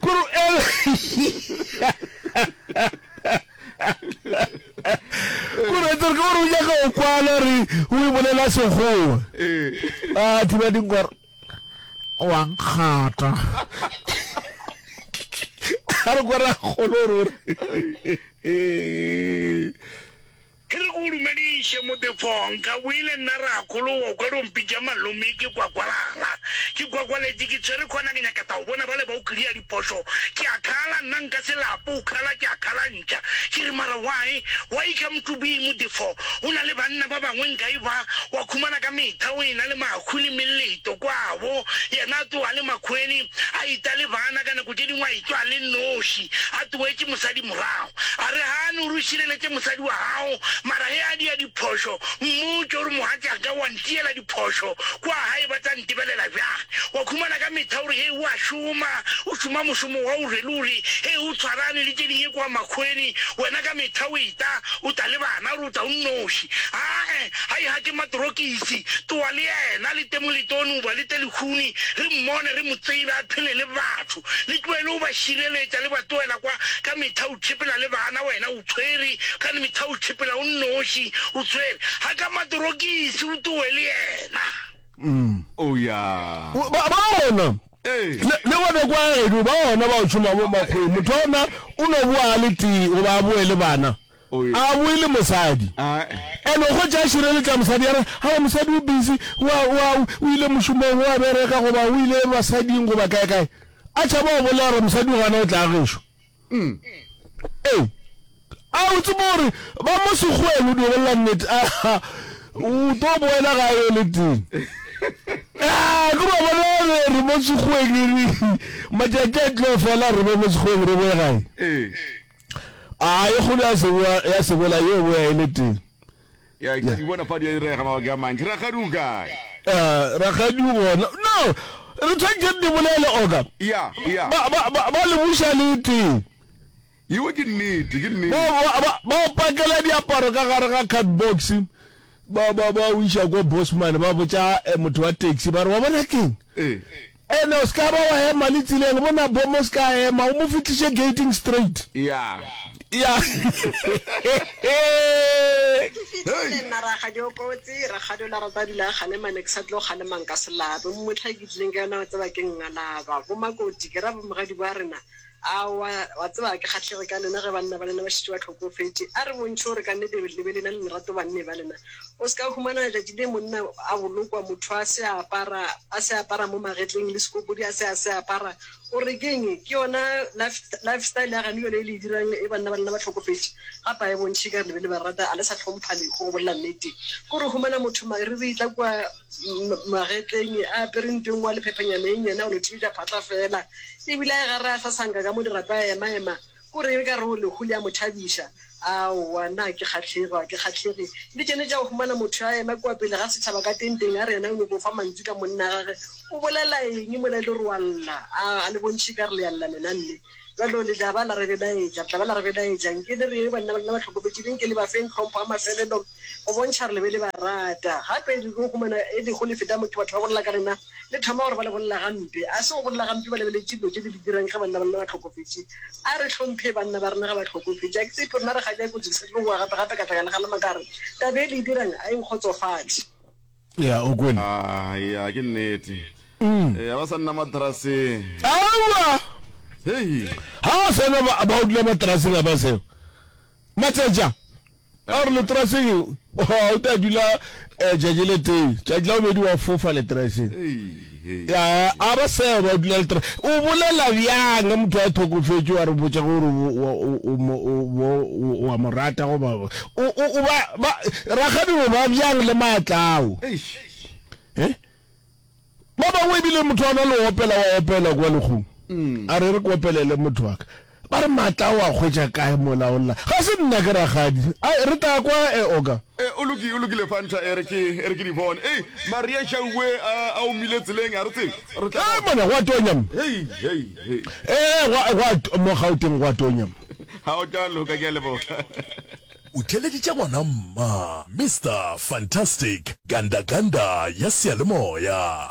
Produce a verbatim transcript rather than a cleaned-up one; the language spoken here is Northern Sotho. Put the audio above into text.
Kore kore tsere ke gore o nyaka go kwala re o e bolela sekgowa. A thiba dinkwa wa nkgata. A re kwa rakgolo gore o re. Ke re ke go dumediše, Motefo. Nka boile nna rakgolo wa kwa o mpitša malome ke kwakwalala. Ke kwakwaletše ke tshwere khona ke nyaka tao bona bale ba o kria diphošo. Ke a khala nna nka se lape o khala ke a khala ntša. Ke re mara why? Why come to be Motefo? O na le banna ba bangwe nka e ba wa khumana ka metha o ena le makhu le meleto kwabo yena a tloga le makhweni a ita le bana ka nako tše dingwe a itwa le noši a tloetše mosadi morago. A re, Gane o re o šireletše mosadi wa gago, mara ge a dia diphošo, mmotše o re, Mogatšaka, wa ntiela diphošo, kua gae ba tla ntebelela bjang? Wa khumana ka mehla o re, Hei, o a šoma, o šoma mošomo wa o re le o re, Hei, o tshwarane le tše dingwe kua makgweni, wena ka mehla o eta, o tla le bana, o re o tla o nnoši. Ae, hai ga ke matorokisi, tloa le yena, le te moletone goba le te lehuni, re mmone, re mo tsebe, a phele le batho. Le tlohele go ba šireletša, le ba tlohela kwa ka mehla o tšhepela le bana, wena o tshwere, ka mehla o tšhepela o nnoši, o tshwere ga ka matorokisi, o tlowe le yena. Oh ya. Ba ba gona. Ee. Le le gona kwa geno ba gona ba o tšhoma mo makgweng. Motho wa gona o no boa a le tee goba a boe le bana. Oh ya. A boe le mosadi. Ae. And o hwetša a šireletša mosadi a re, Aowa mosadi o busy, o a, o a, o ile mošomong, o a bereka goba o ile basading goba kae kae. A tšhaba go bolela gore mosadi o gana o tla gešo. Ee. A o tsebe gore ba mo sekgoweng o dio bolela nnete. A o tlo boela gae o le tee. A ke ba bona re re mo sekgoweng re matšatši a tlo fela re be mo sekgoweng re boe gae. Ee. A e kgolo ya seboa ya sebola yo boya e le tee. Ya, ke di bona fa di a direga mabaka a mantši. Rakgadi o kae? Uh, rakgadi o gona. No, re tshwanetse re di bolele oka. Ya, ya. Ba, ba, ba, ba le buša le tee. Yeo ke nnete, ke nnete. Ba, ba, ba, ba o pakela diaparo ka gare ga card box. Ba, ba, ba o iša ko Bosman, ba botša eh, motho wa taxi, ba re, wa bona keng? Ee. Ene o ska ba wa ema le tseleng, bona bomo o ska ema, o mo fihliše gating straight. Ya. Ya. Ke fihlile nna rakgadi o kotsi, rakgadi o la rata a dula a kgalema ne ke sa tlo kgalema nka se lape. Mohla ke tlileng ka yona wa tseba ke ngalaba. Bo Makoti ke ra bomogadi ba rena Aowa, wa tseba ga ke kgahlege ka lena ge banna ba lena ba šetše ba hlokofetše. A re bontšhe gore ka nnete le be le na le lerato banneng ba lena. O se ka humana letšatši le monna a bolokwa, motho a se a apara, a se a apara mo magetleng, le sekopodi a se a se apara. O re ke'ng? Ke yona life, lifestyle ya gane yona e le e dirang e banna ba lena ba hlokofetše. Gape a e bontšhe ekare le be le ba rata, a le sa hlompha lehu, go bolela nnete. Ke gore o humana motho mariri tla kua magetleng a apere nto e nngwe a le phephenyana e nnyane a go no thibetša phatla feela. E bile a e gare a sasanka ka mo dirapa a ema-ema, ko reng e ka re o lehu le a mo thabiša. Aowa, nna ga ke kgahlege, ga ke kgahlege. Le tšene tša go humana motho a ema kua pele ga setšhaba ka tenteng a re yena o nyoko fa mantšu ka monna gage. O bolela eng mola e le gore o a lla? A, a le bontšhe e ka re le a lla lena nne. Bjalo le tla ba la re belaetša, re tla ba la re belaetša. Nke le re, Banna ba lena ba hlokofetše, le nke le ba feng tlhompho ya mafelelo go bontšha gore le be le ba rata. Gape le tlo humana e lego le feta motho, batho ba bolela ka lena, le thoma gore ba le bolela gampe. A se go bolela gampe ba lebeletše dilo tše le di dirang ge banna ba lena ba hlokofetše. A re hlomphe banna ba rena ge ba hlokofetše. A ke tshepe rena re kgadi ya kotsi ke sa tlo boa gape gape ka tla ka le kgalema ka re, Taba e le e dirang a e nkgotsofatše. Ya, o kwele? Ah, ya, ke nnete. Mm. ba sa nna matraseng. Aowa! Hei! Ha ba sena ba ba o dula matraseng a ba seo. Matšatša a re letraseng o tla dula eh, tšatši le tee, tšatši la bobedi wa fofa letraseng. Ya, a ba seo ba dula letra. O bolela bjang ge motho a hlokofetše wa re botša gore o wa mo rata goba o o ba ba rakgadi o ba bjang le maatla ao? Eh? Ba bangwe ebile motho a na le opela wa opela kwa lekgong. Mm. A re re ke opelele motho wa ka. Ba re maatla ao a hwetša kae mola o lla? Ga se nna ke rakgadi. Ai, re tla kwa e oka. E, o loki, o lokile Fanta, e re ke, e re ke di bone. Ei, Maria Šauwe a, a omile tseleng, a re tsebe. Re tla. Ei, mona, go a tonya mo. Hei, hei, hei. E, gwa, gwa, mo Gauteng go a tonya mo. Ha o tla loka, ke a leboga. O theeleditše ngwana mma, Mister Fantastic, Ganda Ganda ya seyalemoya.